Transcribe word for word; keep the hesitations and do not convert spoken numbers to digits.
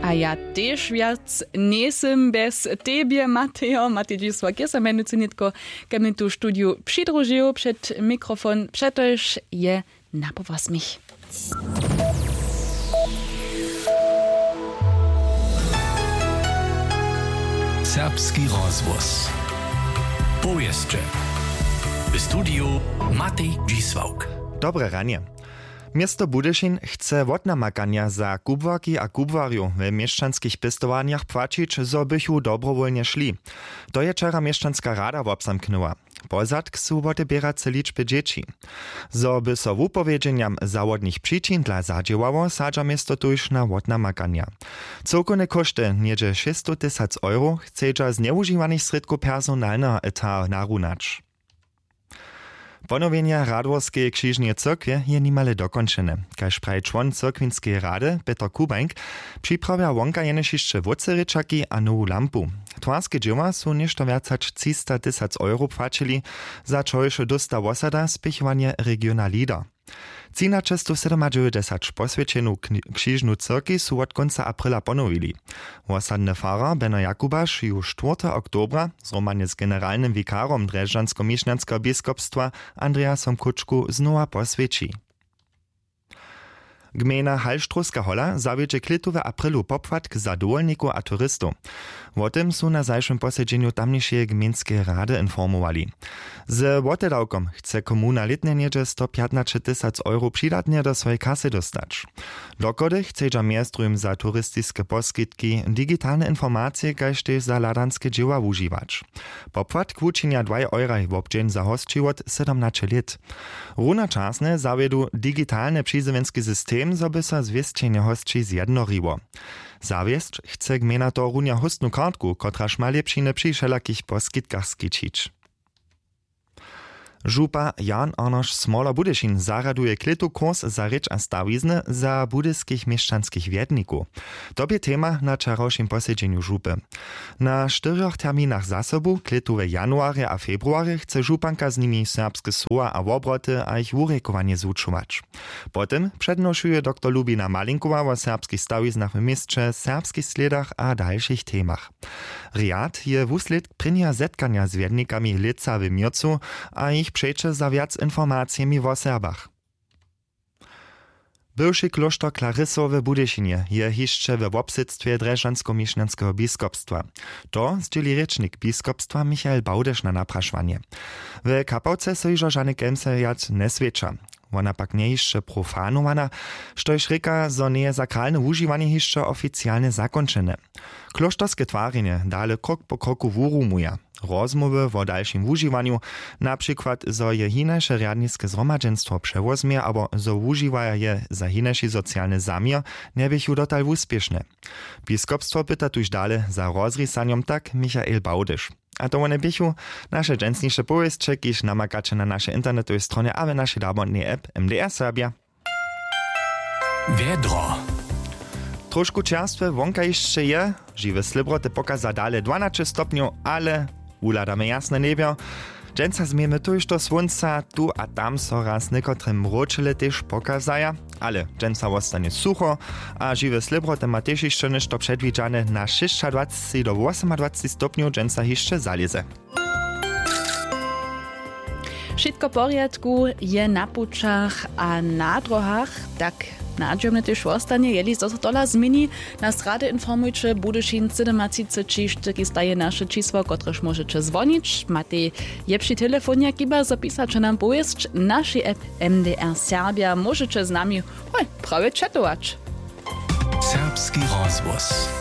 A ja tež wjac njejsym bjez tebje, Matejo. Matej Dźisłak je so mjenujcy nětko ke mnje tu w studiju přidružił před mikrofon, přetož je na powosmich. Serbski rozhłos. Powěsće. W studiju Matej Dźisławk. Dobre ranje. Město Budyšin chce wotnamakanja za kubłarki a kubłarjow we měšćanskich pěstowarnjach płaćić, zo bychu dobrowólnje šli. To je wčera měšćanska rada wobzamknyła. Pozadk su woteběrace ličby dźěći. Zo by so wupowědźenjam zawodnych přičin dla zadźěłało, sadźa město tuž na wotnamakanja. Cyłkowne kóšty, něhdźe šěsćstow tysac euro, chcedźa z njewužiwanych srědkow personalneho etat narunać. Ponowjenje Radworskeje křižneje cyrkwje je nimale dokónčene. Kaž praji čłon cyrkwinskeje rady Pětr Kubańk, připravja wonka jenož hišće wótřerěčaki a nowu lampu. Twarske dźěła su něšto wjac hač třista tysac euro płaćili, za čož dósta wosada spěchowanje regiona Leader. Třinaćestow sydomadźewjećdźesat poswjećenu kni- křižnu cyrkej su wot kónca aprila ponowili. Wosadny farar Beno Jakubaš ju štwórteho oktobra zhromadnje z generalnym wikarom drježdźansko-měšnjanskeho biskopstwa Andreasom Kutschku znowa poswjeći. Gmejna Halštrowska hola zawjedźe klětu w aprilu popłatk za dowolnikow a turistow. Wo tym su na zašłym posedźenju tamnišeje gmejnskeje rady informowali. Z wotedawkom chce komuna lětnje něhdźe stopjatnaćetysac euro přidatnje do swojej kasy dóstać. Dochody chcedźa mjez druhim za turistiske poskitki, digitalne informacije kaž tež za hladanske dźěła wužiwać. Popłatk wučinja dwaj euraj wobdźeń za hosći wot sydomnaće lět. Runočasnje zawjedu digitalny přizjewjenski system, zo by so zwěsćenje hosći zjednoriło. Zawěsć chce gmejna tohorunja hóstnu kartku, kotraž ma lěpšiny při wšelakich poskitkach skićić. Župa Jan Arnošt Smoler Budyšin zarjaduje klětu kurs za rěč a stawizny za budyskich měšćanskich wjednikow. To bě tema na wčerawšim posedźenju župy. Na štyrjoch terminach zasobu, klětu w januarje a februarje, chce županka z nimi serbske słowa a wobroty a jich wurěkowanje zwučować. Potom přednošuje doktor Lubina Malinkowa wo serbskich stawiznach w měsće, serbskich slědach a dalšich temach. Rjad je wuslědk prěnjeho zetkanja z wjednikami lětsa w měrcu a jich přeće za wjac informacijemi wo Serbach. Bywši klóšter Klarysow w Budyšinje je hišće we wobsydstwje drježdźansko-měšnjanskeho biskopstwa. To zdźěli rěčnik biskopstwa Michael Bałdyš na naprašowanje. W Kapałce so hižo žane kemse wjac njeswjeća. Wona pak njeje hišće profanowana, štož rěka, zo njeje sakralne wužiwanje hišće oficialnje zakónčene. Klóšterske twarjenje dale krok po kroku wurumuja. Rozmołwy wo dalšim wužiwanju, na přikład zo je hinaše rjadniske zhromadźenstwo přewozmje abo zo wužiwaja je za hinaši socialny zaměr, njeběchu dotal wuspěšne. Biskopstwo pyta tuž dale za rozrisanjom, tak Michael Bałdyš. A to wone běchu naše dźensniše powěsće, kiž namakaće na našej internetowej stronje a w našej dabotnej app M D R Serbia. Wjedro. Trošku čerstwe wonka hišće je, žiwe slěbroty pokaza dale dwanaće stopnjow, ale wuhladamy jasne njebjo. Dźensa změjemy tójšto słónca, tu a tam so raz někotre mróčele tež pokazaja, ale dźensa wostanje sucho a žiwe slěbroty ma tež hišće něšto předwidźane. Na šěsćadwaceći do wosomadwaceći stopnjow dźensa hišće zalěze. Wšitko w porjadku je na pućach a na dróhach, tak nadźijomnje tež wostanje, jeli zo so tola změni. Nas rady informujće, Budyšin sydomatřiceći štyrki staje naše čisło, kotrež móžeće zwonić. Matej je při telefonje, chiba zo pisaće nam powěsć w našej app M D R Serbia, móžeće z nami, hoj, prawje četować. Serbski rozhłos.